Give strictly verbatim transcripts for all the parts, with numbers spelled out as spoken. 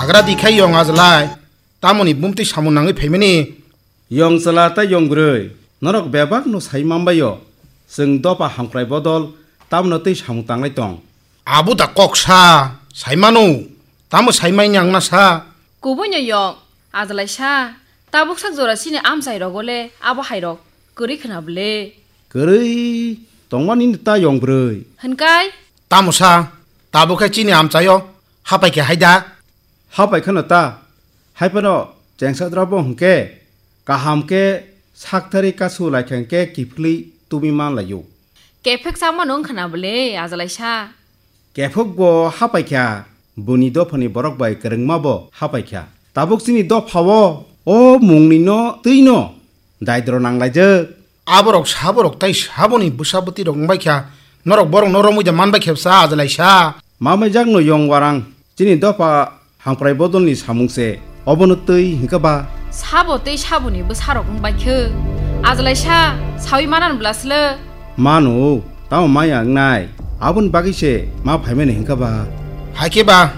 Hagra di khai yong ajlai, tamoni bumtwi samung nangwi phaimani. Yong chwla tei yong bwrwi, norok bebak no sai manbaio, chwng dopha hamkrai bodol tamno twi samung tanglai tong. Abo da kok sa, sai mano, tamo sai mai nang na sa. Kubui no yong, ajlai sa, tabuk sak jora chini amchai rogo le abo hai rok kwrwi khwna bwle. Kwrwi tongmani ta yong bwrwi. Hwnkai? Tamo sa, tabuk khe chini amchaio hapai khe hai da. Hapai kheno ta, hai phano chengsa drabo hwnkhe kaham khe sakthari kasu lai khe hwnkhe kiphilwi tubui man laio. Kephek chama no wngkha na bwle, ajlai sa. Kephek bo hapai kha, buni dophani borok bai kwrwngma bo hapai kha. Tabuk chini dophao o mungni no twi no daidro nang laijak. Aborok saborok tai saboni bwsa bwtwi rok wngbai kha, norok borok no romwi da man bai khe bwsa ajlai sa. Ma mai jak no yong warang, chini dopha hamkrai bodol ni samung se, obono twi hwnkhe ba. Sabo tei saboni bwsa rok wngbai khe, ajlai sa, sawi manan bwla sle. Mano, tamo maya wngnai, aboni bagwi se ma phaimani hwnkhe ba. Hai khe ba,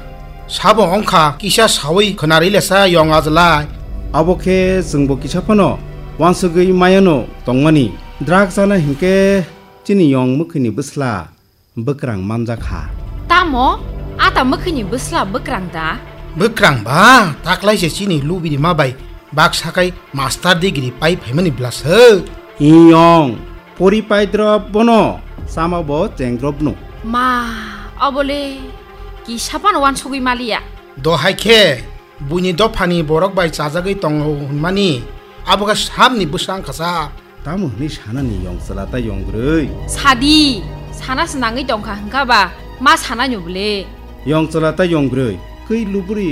sabo wngkha kisa sawi khwnarwi lesa yong ajlai. Abo khe chwngbo kisa phano wansugwi mayano tongmani. Drug chana hinkhe chini yong mwkhwini bwsla bwkrang manjakha. Tamo? Ata mwkhwini bwsla bwkrang da? Bwkrang ba, taklai se chini lubirima bai baksa kai master degree pai phaimani bwlaswk. Iyong, pori pai drop bono, sama bo cheng drop no. Ma, obole, kisa phano wansugwi maliya. Dohai khe, buini dophani borok bai chajagwi tongo hwnmani, abo khe sabni bwsa wngkha sa. Tamo hwnwi sanani yong chwla tei yong bwrwi? Sadi, sana se nangwi tongkha hwnkha ba, ma sanai no bwle. Yong chwla tei yong bwrwi, kwi luburi